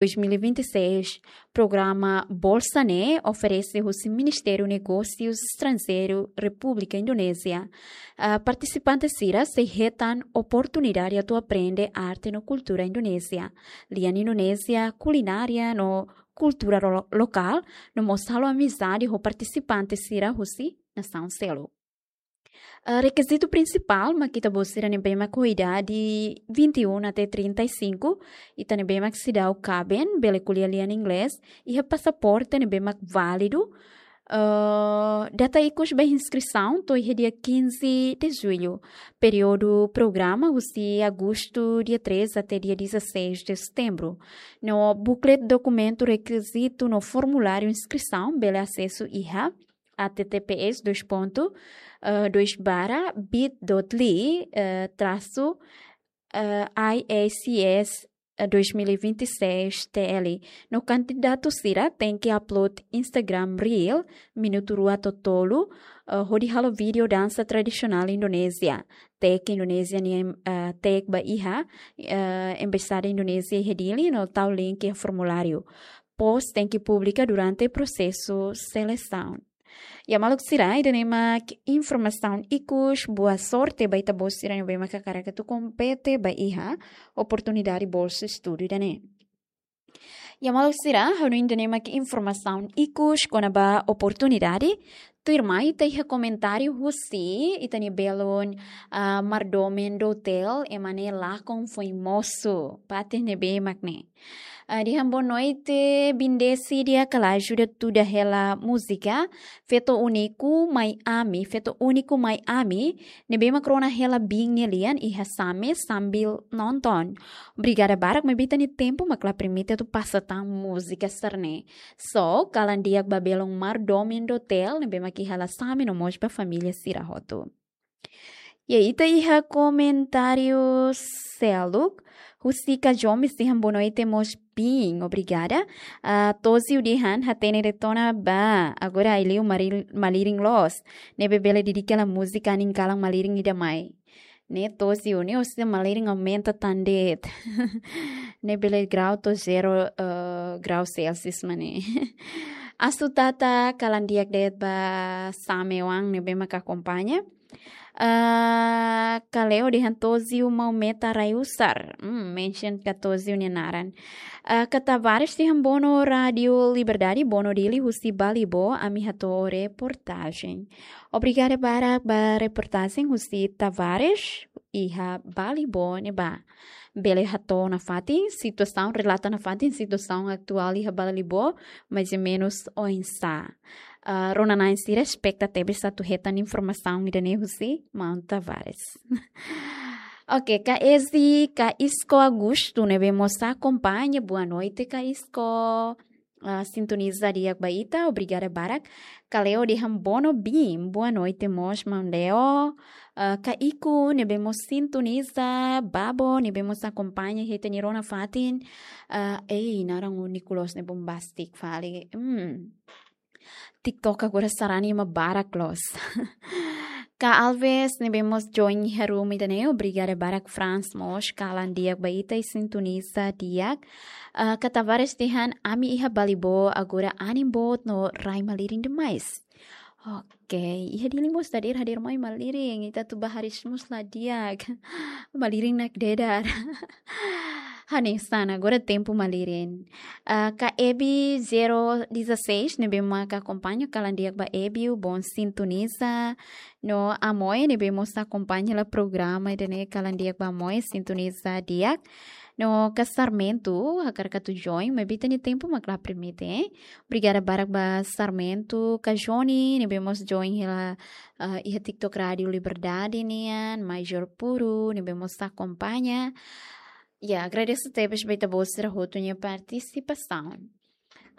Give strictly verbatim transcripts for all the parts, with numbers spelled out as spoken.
dois mil e vinte e seis, programa Bolsa ne'e oferese husi Ministériu Negósius Estranjeirus Repúblika Indonézia. Ah, partisipante sira sei hetan oportunidade atu aprende arte no kultura Indonézia, lian Indonézia, kulinária no kultura ro-, lokál, no mós halo amizade ho partisipante sira husi nasaun seluk. Ah, rekizitu prinsipál mak ita-boot sira ne'ebé mak ho idade vinte e um até trinta e cinco, ita ne'ebé mak seidauk kaben, bele ko'alia lian inglés, iha pasaporte ne'ebé mak válidu. Ah, data ikus ba inskrisaun to'o iha dia quinze de julho. Períodu programa husi agostu dia três até dia dezasseis de setembro. No booklet dokumentu rekizitu no formuláriu inskrisaun bele asesu iha H T T P S dois ponto, eh, dois barra bit dot L Y, eh, traço, eh, I A C S, eh, dois mil e vinte e seis T L. No kandidatu sira tenke upload Instagram Reel, minutu rua to'o tolu, eh, hodi halo vídeo dansa tradisionál Indonézia. Tag Indonézia nian, eh, tag ba iha, eh, Embaixada Indonézia iha Dili, no tau link iha formuláriu. Post tenke publika durante prosesu selesaun. Ya maluk sira, ida-ne'e mak informasaun ikus, boa sorte ba ita-boot sira ne'ebé mak hakarak atu kompete ba iha oportunidade bolsa estudu ida-ne'e. Ya maluk sira, ha'u hanoin ida-ne'e mak informasaun ikus kona-ba oportunidade. Tuirmai ita iha komentáriu husi ita-nia belun, ah, mordomo do hotel, ema ne'e lakon foin mosu. Fatin ne'ebé mak ne'e. Ah, dehan boa noite, Bindesi di'ak, ha'u la ajuda tuda hela múzika. Feto úniku mai ami, feto úniku mai ami. Ne'ebé mak rona hela biin nia lian iha Same sambil nonton. Obrigada barak, maibé ita-nia tempu mak la permite atu pasa tan múzika sira-ne'e. So, kalan di'ak ba belun mordomo do hotel, ne'ebé mak iha la Same no mós ba família sira hotu. Ya, ita iha komentáriu seluk, husi Kajomi dehan boa noite mós biin, obrigada. Ah, Tozio dehan hatene de'it ona ba, agora ai-liu mari-, malirin loos. Ne'ebé bele dedika hela múzika anin kalan malirin ida mai. Ne'e Tozio ne'e, ou seja, malirin aumenta tan de'it. Ne'e bele grau to'o zero, eh, grau Celsius mak ne'e. Asu Tata, kalan di'ak de'it ba Same oan ne'ebé mak akompaña. Ah, Kaleo dehan Tozio mau meta rai usar. Hmm, mention ka Tozio nia naran. Ah, Ka Tavares dehan bono Rádio Liberdade, bono Dili husi Balibo, ami hato'o reportajen. Obrigada barak ba reportajen husi Tavares, iha Balibo ne'ebá. Bele hato'o nafatin situasaun, relata nafatin situasaun atuál iha Balibo, mais ou menus oinsá. Ah, rona-na'in sira espera tebes atu hetan informasaun ida-ne'e husi maun Tavares. Oke, Ka Ezi, Ka Isko Augusto ne'ebé mós akompaña, boa noite, Ka Isko. Ah, sintoniza di'ak ba ita, obrigada barak. Kaleo dehan bono biin, boa noite mós, maun Leo. Ah, Ka Iku ne'ebé mós sintoniza, Babo ne'ebé mós akompaña, hetan rona fatin. Ah, ei, naran úniku loos ne'e bombastik fali. Hmm. TikTok agora sarani ema barak loos. Ka Alves ne'ebé mós join iha room ida-ne'e, obrigada barak. Frans mós, kalan di'ak ba ita i sintoniza di'ak. Ah, Ka Tavares dehan ami iha Balibo agora anin boot no rai malirin demais. Oke, iha Dili mós dadeer hadeer mai malirin, ita atu bá hariis mós la di'ak. Malirin nakdedar. Hanesan, agora tempu malirin. Ah, Ka Ebi zero dezasseis, ne'ebé mak akompaña, kalan di'ak ba Ebi, bom sintoniza. No Amoe, ne'ebé mós akompaña hela programa ida-ne'e, kalan di'ak ba Amoe, sintoniza di'ak. No Ka Sarmento, hakarak atu join, maibé ita-nia tempu mak la permite, eh. Obrigada barak ba Sarmento, Ka Joni, ne'ebé mós join hela, ah, iha TikTok Rádio Liberdade nian, Major Puru, ne'ebé mós akompaña. Ya, agradese tebes ba ita-boot sira hotu nia partisipasaun.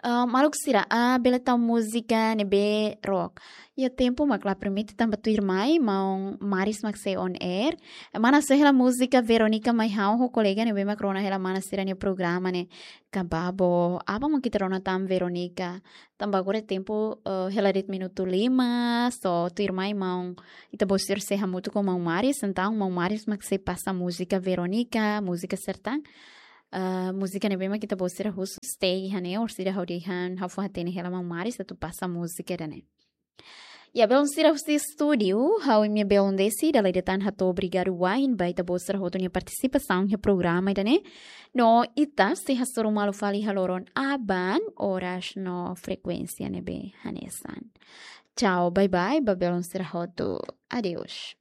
Ah, maluk sira, ah, bele tau múzika ne'ebé rock. Ya, tempu mak la permite tanba tuirmai, maun Maris mak sei on air. Mana sei hela múzika Veronica mai ha'u ho kolega ne'ebé mak rona hela mana sira-nia programa ne'e. Ka Babo, aban mak ita rona tan Veronica. Tanba agora tempu, eh, hela de'it minutu lima, so tuirmai maun, ita-boot sira sei hamutuk ho maun Maris, entaun maun Maris mak sei pasa múzika Veronica, múzika sertán. Ah, múzika ne'ebé mak ita-boot sira husu stay hanesan orsida ha'u dehan ha'u fó hatene hela maun Maris atu pasa múzika ida-ne'e. Ya, belun sira husi estúdiu, ha'u imi belun Desi, dala ida tan hato'o obrigadu wa'in ba ita-boot sira hotu nia partisipasaun iha programa ida-ne'e. No ita sei hasoru malu fali iha loron aban, oras no frekuénsia ne'ebé hanesan. Tchau, bye bye, ba belun sira hotu. Adeus.